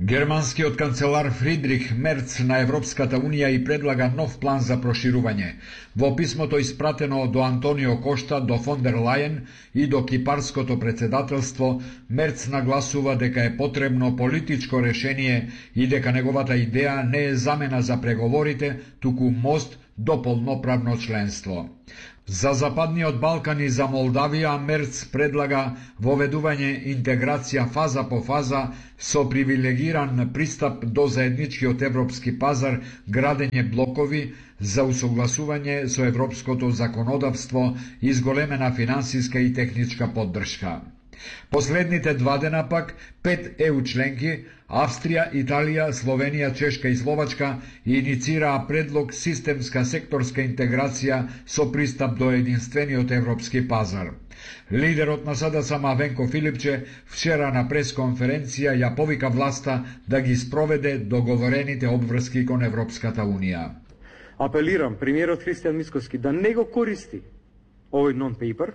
Германскиот канцелар Фридрих Мерц на Европската Унија и предлага нов план за проширување. Во писмото испратено до Антонио Кошта, до фон дер Лајен и до кипарското председателство, Мерц нагласува дека е потребно политичко решение и дека неговата идеја не е замена за преговорите, туку мост до полноправно членство. За Западниот Балкан и за Молдавија Мерц предлага воведување интеграција фаза по фаза со привилегиран пристап до заедничкиот европски пазар, градење блокови за усогласување со европското законодавство и зголемена финансиска и техничка поддршка. Последните 2 дена пак 5 ЕУ членки Австрија, Италија, Словенија, Чешка и Словачка иницираа предлог системска секторска интеграција со пристап до единствениот европски пазар. Лидерот на СДСМ Венко Филипче вчера на пресконференција ја повика власта да ги спроведе договорените обврски кон Европската Унија. Апелирам премиерот Христијан Мицкоски да не го користи овој нон-пейпер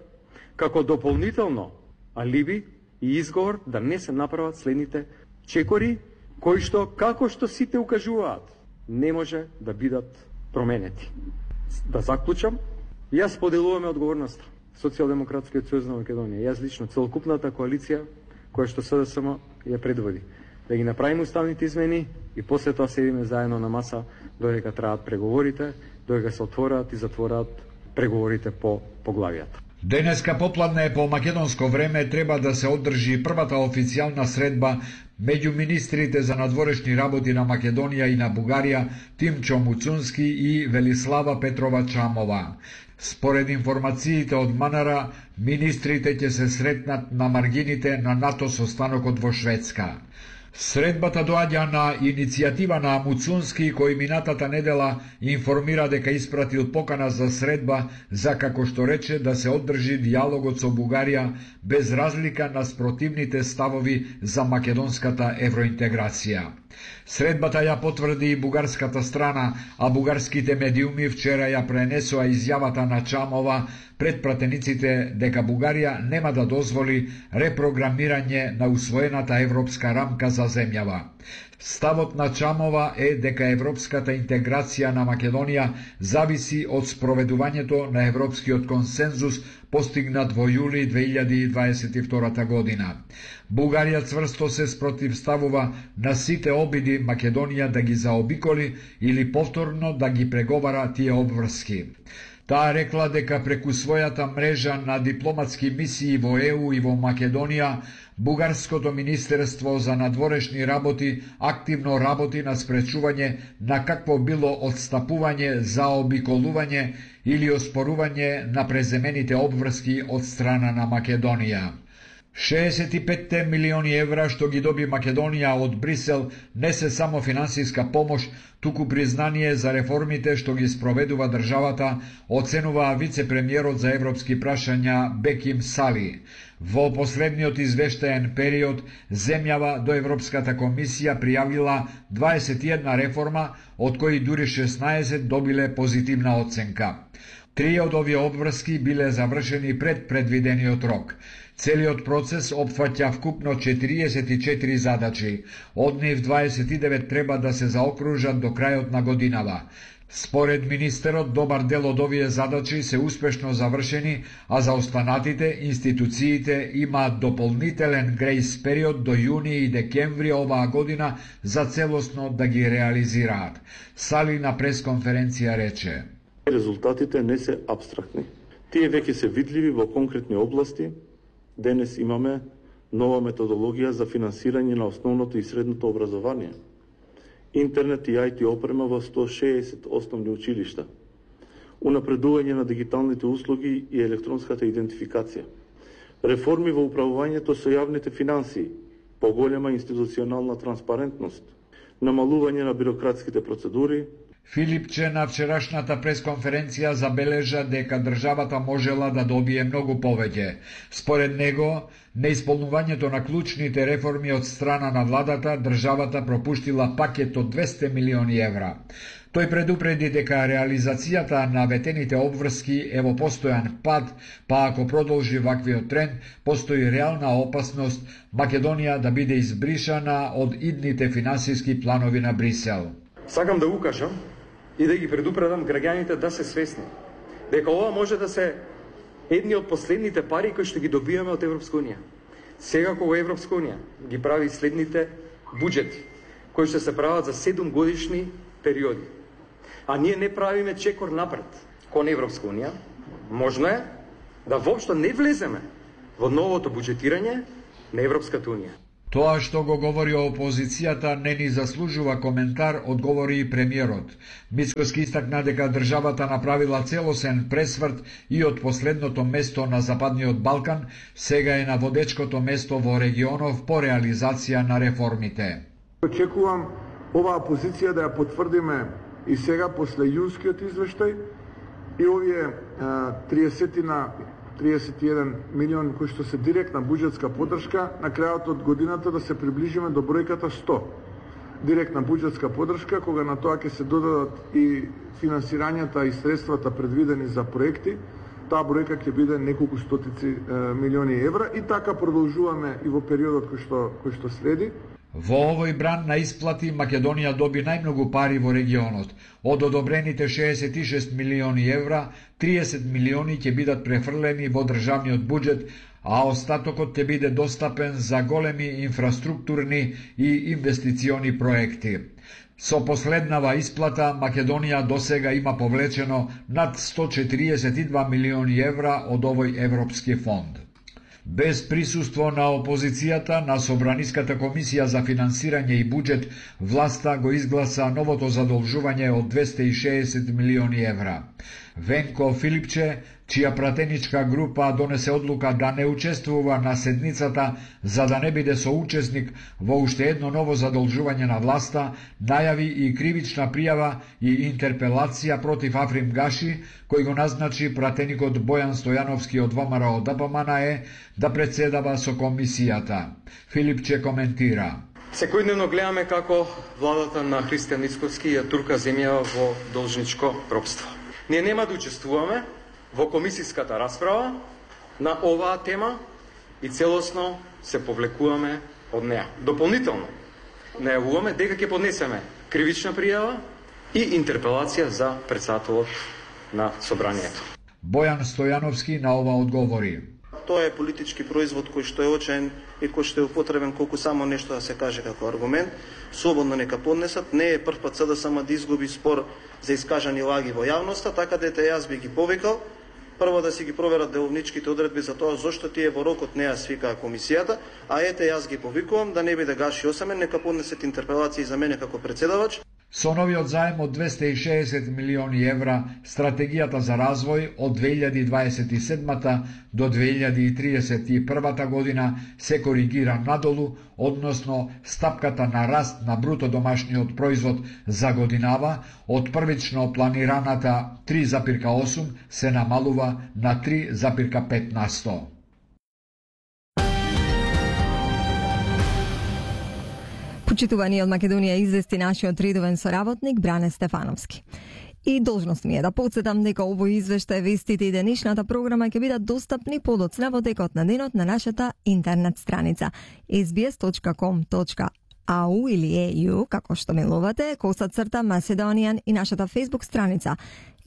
како дополнително алиби и изговор да не се направат следните чекори, кои што, како што сите укажуваат, не може да бидат променети. Да заклучам, јас поделуваме одговорноста. Социјалдемократскиот сојуз на Македонија, јас лично, целокупната коалиција која што СДСМ ја предводи, да ги направиме уставните измени и после тоа седиме заедно на маса додека траат преговорите, додека се отворат и затворат преговорите по поглавијата. Денеска попладне по македонско време треба да се одржи првата официјална средба меѓу министрите за надворешни работи на Македонија и на Бугарија Тимчо Муцунски и Велислава Петрова Чамова. Според информациите од МНР, министрите ќе се сретнат на маргините на НАТО состанокот во Шведска. Средбата доаѓа на иницијатива на Муцунски, кој минатата недела информира дека испратил покана за средба за, како што рече, да се одржи диалогот со Бугарија без разлика на спротивните ставови за македонската евроинтеграција. Средбата ја потврди и бугарската страна, а бугарските медиуми вчера ја пренесоа изјавата на Чамова пред пратениците дека Бугарија нема да дозволи репрограмирање на усвоената европска рамка за земјава. Ставот на Чамова е дека европската интеграција на Македонија зависи од спроведувањето на европскиот консензус постигнат во јули 2022 година. Бугарија цврсто се спротивставува на сите обиди Македонија да ги заобиколи или повторно да ги преговара тие обврски. Таа рекла дека преку својата мрежа на дипломатски мисии во ЕУ и во Македонија, Бугарското министерство за надворешни работи активно работи на спречување на какво било одстапување, заобиколување или оспорување на преземените обврски од страна на Македонија. 65 милиони евра што ги доби Македонија од Брисел не се само финансиска помош, туку признание за реформите што ги спроведува државата, оценува вице-премиерот за европски прашања Беким Сали. Во последниот извештаен период, земјава до Европската комисија пријавила 21 реформа, од кои дури 16 добиле позитивна оценка. 3 од овие обврски биле завршени пред предвидениот рок. Целиот процес опфаќа вкупно 44 задачи, од нив 29 треба да се заокружат до крајот на годинава. Според министерот, добар дел од овие задачи се успешно завршени, а за останатите институциите имаат дополнителен грејс период до јуни и декември оваа година за целосно да ги реализираат. Сали на пресконференција рече: Резултатите не се апстрактни. Тие веќе се видливи во конкретни области. Денес имаме нова методологија за финансирање на основното и средното образование, интернет и IT опрема во 160 основни училишта, унапредување на дигиталните услуги и електронската идентификација, реформи во управувањето со јавните финансии, поголема институционална транспарентност, намалување на бирократските процедури. Филипче на вчерашната пресконференција забележа дека државата можела да добие многу повеќе. Според него, неисполнувањето на клучните реформи од страна на владата, државата пропуштила пакет од 200 милиони евра. Тој предупреди дека реализацијата на ветените обврски е во постојан пад, па ако продолжи ваквиот тренд, постои реална опасност Македонија да биде избришана од идните финансиски планови на Брисел. Сакам да укажам и да ги предупредам граѓаните да се свесни дека ова може да се едни од последните пари кои што ги добиваме од Европска унија. Сега кога Европска унија ги прави следните буџети, кои што се прават за 7 годишни периоди, а ние не правиме чекор напред кон Европска унија, можно е да воопшто не влеземе во новото буџетирање на Европската унија. Тоа што го говори опозицијата не ни заслужува коментар, одговори и премиерот. Мицкоски истакна дека државата направила целосен пресврт и од последното место на Западниот Балкан, сега е на водечкото место во регионов по реализација на реформите. Очекувам оваа позиција да ја потврдиме и сега после јунскиот извештај и овие 31 милион кои што се директна буџетска поддршка, на крајот од годината да се приближиме до бројката 100. Директна буџетска поддршка, кога на тоа ќе се додадат и финансирањата и средствата предвидени за проекти, таа бројка ќе биде неколку стотици милиони евра и така продолжуваме и во периодот кој што следи. Во овој бран на исплати Македонија доби најмногу пари во регионот. Од одобрените 66 милиони евра, 30 милиони ќе бидат префрлени во државниот буџет, а остатокот ќе биде достапен за големи инфраструктурни и инвестициони проекти. Со последнава исплата Македонија досега има повлечено над 142 милиони евра од овој европски фонд. Без присуство на опозицијата на Собраниската комисија за финансирање и буџет, власта го изгласа новото задолжување од 260 милиони евра. Венко Филипче, чија пратеничка група донесе одлука да не учествува на седницата за да не биде соучесник во уште едно ново задолжување на власта, најави и кривична пријава и интерпелација против Африм Гаши, кој го назначи пратеникот Бојан Стојановски од ВМРО ДПМНЕ да председава со комисијата. Филипче коментира: Секојдневно гледаме како владата на Христијан Мицкоски ја турка земја во должничко ропство. Ние нема да учествуваме во комисиската расправа на оваа тема и целосно се повлекуваме од неа. Дополнително најавуваме дека ќе поднесеме кривична пријава и интерпелација за председателот на собранието. Бојан Стојановски на ова одговори: Тоа е политички производ кој што е очен и кој што е употребен колку само нешто да се каже како аргумент. Слободно нека поднесат. Не е прв пат СДСМ да изгуби спор за искажани лаги во јавноста, така дете јас би ги повикал прво да си ги проверат деловничките одредби за тоа зошто тие во рокот не ја свикаа комисијата, а ете јас ги повикувам да не биде Гаши осамен, нека поднесет интерпелации за мене како председавач. Со новиот заем од 260 милиони евра, стратегијата за развој од 2027 до 2031 година се коригира надолу, односно стапката на раст на бруто домашниот производ за годинава од првично планираната 3,8 се намалува на 3,5%. Почитувани од Македонија извести нашиот редовен соработник Бране Стефановски. И должност ми е да подсетам дека овој извештај, вестите и денешната програма ќе бидат достапни подоцна во текот на денот на нашата интернет страница sbs.com.au или EU, како што милувате, _Macedonian и нашата Facebook страница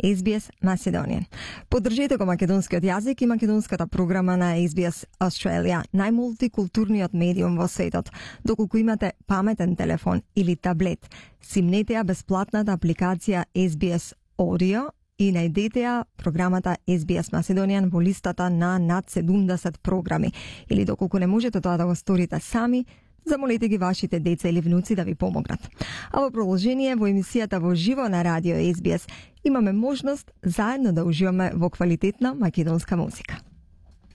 SBS Macedonian. Поддржете го македонскиот јазик и македонската програма на SBS Australia, најмултикултурниот медиум во светот. Доколку имате паметен телефон или таблет, симнете ја бесплатната апликација SBS Audio и најдете ја програмата SBS Macedonian во листата на над 70 програми. Или доколку не можете тоа да го сторите сами, замолете ги вашите деца или внуци да ви помогнат. А во продолжение во емисијата во живо на радио SBS имаме можност заедно да уживаме во квалитетна македонска музика.